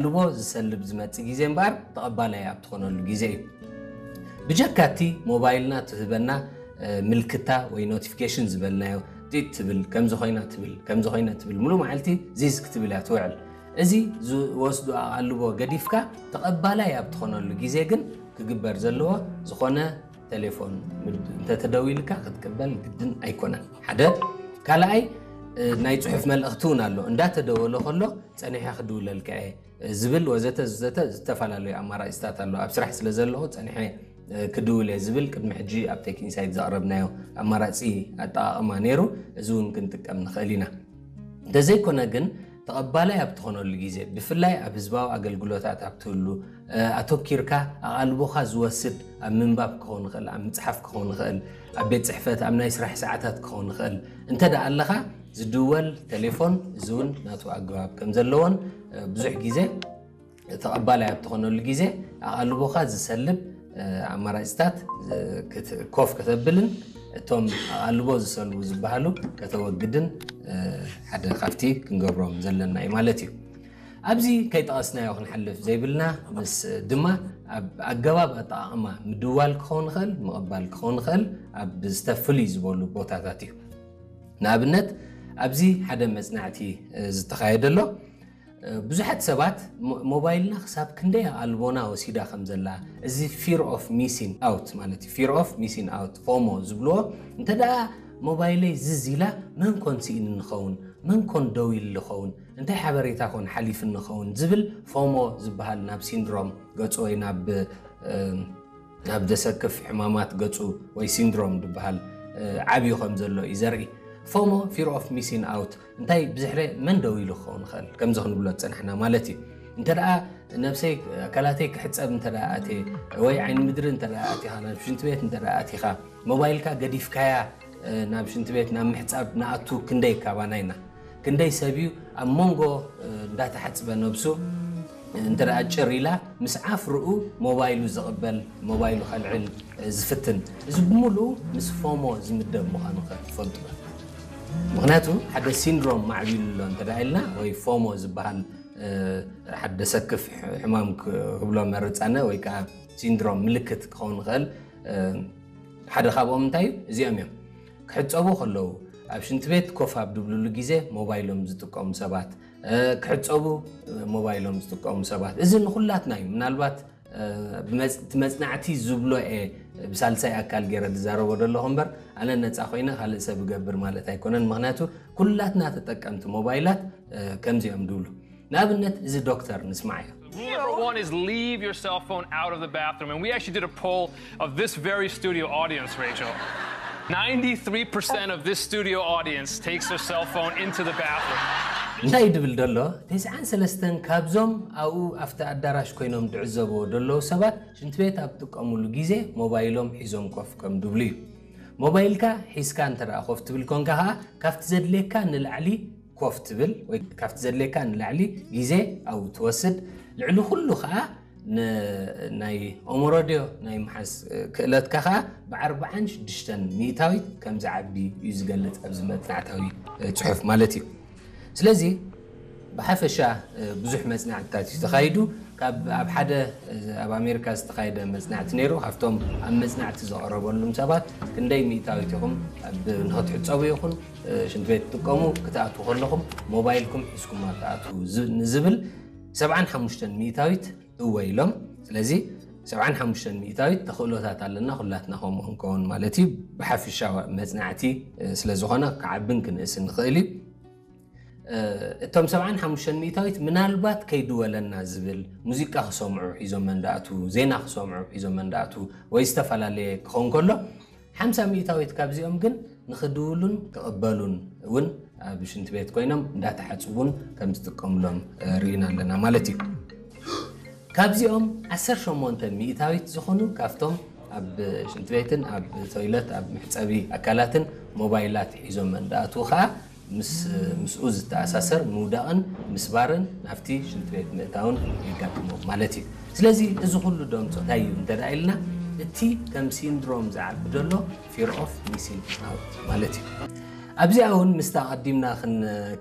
ኣቓልቦ ዝሰልብ ዝመጽእ ግዜ እምበኣር ተቐባላይ ኣብ ትኾነሉ ግዜ እዩ። ብጀካ እቲ ሞባይልና ትህበና ምልክታ ወይ ኖቲፊኬሽን ዝበልናዮ፣ ጢጥ ትብል፣ ከምዚ ኮይና ትብል፣ ከምዚ ኮይና ትብል፣ ሙሉእ መዓልቲ ዚዝ ክትብል እያ ትውዕል። እዚ ዝወስዶ ኣቓልቦ ገዲፍካ ተቐባላይ ኣብ ትኾነሉ ግዜ ግን ክግበር ዘለዎ ዝኾነ ቴሌፎን እንተተደዊልካ ክትቅበል ግድን ኣይኮነን። ሓደ ካልኣይ ናይ ጽሑፍ መልእኽቲ እውን ኣሎ። እንዳተደወለ ከሎ ጸኒሐ ክድውለልካ እየ ዝብል ወዘተ ዘተ ዝተፈላለዩ ኣማራፂታት ኣሎ። ኣብ ስራሕ ስለ ዘለኹ ጸኒሐ ክድውል እየ ዝብል ቅድሚ ሕጂ ኣብ ቴክ ኢንሳይት ዘቕረብናዮ ኣማራፂ ኣጠቓቕማ ነይሩ። እዚ እውን ክንጥቀም ንኽእል ኢና። እንተዘይኮነ ግን ተቐባላይ ኣብ ትኾነሉ ግዜ፣ ብፍላይ ኣብ ህዝባዊ ኣገልግሎታት ኣብ ትህሉ፣ ኣተኪርካ ኣቓልቦኻ ዝወስድ ኣብ ምንባብ ክኸውን ይኽእል፣ ኣብ ምፅሓፍ ክኸውን ይኽእል፣ ኣብ ቤት ፅሕፈት ኣብ ናይ ስራሕ ሰዓታት ክኸውን ይኽእል እንተ ደኣ ኣለኻ፣ ዝድወል ቴሌፎን እዚ እውን ናቱ ኣገባብ ከም ዘለዎን ብዙሕ ግዜ ተቐባላይ ኣብ ትኾነሉ ግዜ ኣቓልቦኻ ዝሰልብ ኣማራፅታት ኮፍ ከተብልን እቶም ኣቓልቦ ዝሰልቡ ዝበሃሉ ከተወግድን ሓደ ካብቲ ክንገብሮም ዘለና እዩ ማለት እዩ። ኣብዚ ከይጠቐስናዮ ክንሓልፍ ዘይብልና ምስ ድማ ኣብ ኣገባብ ኣጠቓቕማ ምድዋል ክኸውን ይኽእል፣ ምቕባል ክኸውን ይኽእል ኣብ ዝተፍልይ ዝበሉ ቦታታት እዩ። ንኣብነት ኣብዚ ሓደ መጽናዕቲ ዝተኻየደ ኣሎ። ብዙሓት ሰባት ሞባይልና ክሳብ ክንደይ ኣቓልቦና ወሲዳ ከም ዘላ፣ እዚ fear of missing out ማለት እዩ። Fear of missing out፣ ፎሞ ዝብልዎ፣ እንተ ደኣ ሞባይለይ ዝዝ ኢላ መን ኮን ስኢንኒ ኸውን፣ መን ኮን ደው ኢሉ ኸውን፣ እንታይ ሓበሬታ ኮን ሓሊፍኒ ኸውን ዝብል ፎሞ ዝበሃል ናብ ሲንድሮም ገጹ ወይ ናብ ናብ ዘሰክፍ ሕማማት ገጹ ወይ ሲንድሮም ዝበሃል ዓብዩ ከም ዘሎ እዩ ዘርኢ። ፎሞ፣ fear of missing out፣ እንታይ ብዝሕረ መን ደው ኢሉ ክኸውን ይኽእል፣ ከምዚ ክንብሎ ዝጸናሕና ማለት እዩ። እንተ ደኣ ነብሰይ ኣካላተይ ክሕጸብ እንተ ደኣ ኣትየ ወይ ዓይኒ ምድሪ እንተ ደኣ ኣቲኻ ናብ ሽንቲ ቤት እንተ ደኣ ኣቲኻ ሞባይልካ ገዲፍካያ ናብ ሽንቲ ቤት ናብ ምሕጻብ ንኣቱ ክንደይ ካባና ኢና። ክንደይ ሰብ እዩ ኣብ መንጎ እንዳተሓጽበ ነብሱ እንተ ደኣ ጭር ኢላ ምስ ዓፍርኡ ሞባይሉ ዝቕበል፣ ሞባይሉ ከልዕል ዝፍትን። እዚ ብምሉኡ ምስ ፎሞ ዝምደብ ምዃኑ ከ ትፈልጡ ዶ? ምኽንያቱ ሓደ ሲንድሮም ማዕቢሉ ኣሎ እንተ ደኣ ኢልና ወይ ፎሞ ዝበሃል ሓደ ዘሰክፍ ሕማም ክብሎ መርጻነ ወይ ከዓ ሲንድሮም ምልክት ክኸውን ይኽእል። ሓደ ካብኦም እንታይ እዩ? እዚኦም እዮም። ክሕጸቡ ከለዉ፣ ኣብ ሽንቲ ቤት ኮፍ ኣብ ድብልሉ ግዜ ሞባይሎም ዝጥቀሙ ሰባት፣ ክሕጸቡ ሞባይሎም ዝጥቀሙ ሰባት፣ እዚ ንኹላትና እዩ። ምናልባት እቲ መጽናዕቲ ዝብሎ እየ ብሳልሳይ ኣካል ገይረ ዝዛረቦ ዘለኹ እምበር ኣነ ነጻ ኮይነ ካልእ ሰብ እገብር ማለት ኣይኮነን። ምኽንያቱ ኩላትና ተጠቀምቲ ሞባይላት ከምዚኦም ድብሉ። ንኣብነት እዚ ዶክተር ንስማዕ እዮ። Rule number one is leave your cell phone out of the bathroom. And we actually did a poll of this very studio audience, Rachel. Ninety-three percent of this studio audience takes their cell phone into the bathroom. እንታይ ድብል ደሎ? ተስዓን ሰለስተን ካብዞም ኣብኡ ኣብቲ ኣዳራሽ ኮይኖም ድዕዘብዎ ደለዉ ሰባት ሽንቲ ቤት ኣብ ጥቀሙሉ ግዜ ሞባይሎም ሒዞም ኮፍ ከም ድብሉ እዩ። ሞባይልካ ሒዝካ እንተ ደኣ ኮፍ ትብል ኮንካ ኸኣ ካብቲ ዘድልየካ ንላዕሊ ኮፍ ትብል ወይ ካብቲ ዘድልየካ ንላዕሊ ግዜ ኣብኡ ትወስድ። ልዕሊ ኩሉ ኸኣ ናይ ኦሞሮድዮ ናይ ምሓዝ ክእለትካ ኸኣ ብኣርብዓን ሽዱሽተን ሚእታዊት ከም ዝዓቢ እዩ ዝገልጽ ኣብዚ መጽናዕታዊ ጽሑፍ ማለት እዩ። ስለዚ ብሓፈሻ ብዙሕ መጽናዕትታት እዩ ተኻይዱ። ካብ ኣብ ሓደ ኣብ ኣሜሪካ ዝተኻየደ መጽናዕቲ ነይሩ። ካብቶም ኣብ መጽናዕቲ ዝቐረበሉም ሰባት ክንደይ ሚእታዊት ኢኹም ንኽትሕጸቡ ይኹን ሽንቲ ቤት ትጥቀሙ ክትኣትዉ ከለኹም ሞባይልኩም ሒዝኩም ኣብ ትኣትዉ ንዝብል ሰብዓን ሓሙሽተን ሚእታዊት እወ ኢሎም። ስለዚ ሰብዓን ሓሙሽተን ሚእታዊት ተኽእሎታት ኣለና ኩላትና ከምኡ ክንከውን ማለት እዩ። ብሓፊሻ መጽናዕቲ ስለ ዝኾነ ክዓብን ክንእስን ንኽእል እዩ። እቶም ሰብዓን ሓሙሽተን ሚእታዊት ምናልባት ከይድወለና ዝብል ሙዚቃ ክሰምዑ ሒዞም መንዳእቱ፣ ዜና ክሰምዑ ሒዞም መንዳእቱ ወይ ዝተፈላለየ ክኸውን ከሎ ሓምሳ ሚእታዊት ካብዚኦም ግን ንኽድውሉን ክቕበሉን እውን ኣብ ሽንቲ ቤት ኮይኖም እንዳተሓጽቡን ከም ዝጥቀምሎም ርኢና ኣለና ማለት እዩ። ካብዚኦም ዓሰርተ ሸሞንተ ሚእታዊት ዝኾኑ ካብቶም ኣብ ሽንቲ ቤትን ኣብ ቶይለት ኣብ መሕጸቢ ኣካላትን ሞባይላት ሒዞም እንዳኣትዉ ኸኣ ምስ ምስኡ ዝተኣሳሰር ምውዳቕን ምስባርን ናብቲ ሽንቲ ቤት ምእታውን የጋጥሞም ማለት እዩ። ስለዚ እዚ ኩሉ ደምጾ እንታይ እዩ እንተ ደኣ ኢልና እቲ ከም ሲንድሮም ዝዓቢ ዘሎ fear of missing out ማለት እዩ። ኣብዚኣ እውን ምስታ ኣቐዲምና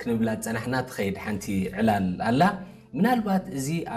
ክንብላ ዝጸናሕና ትኸይድ ሓንቲ ዕላል ኣላ። ምናልባት እዚ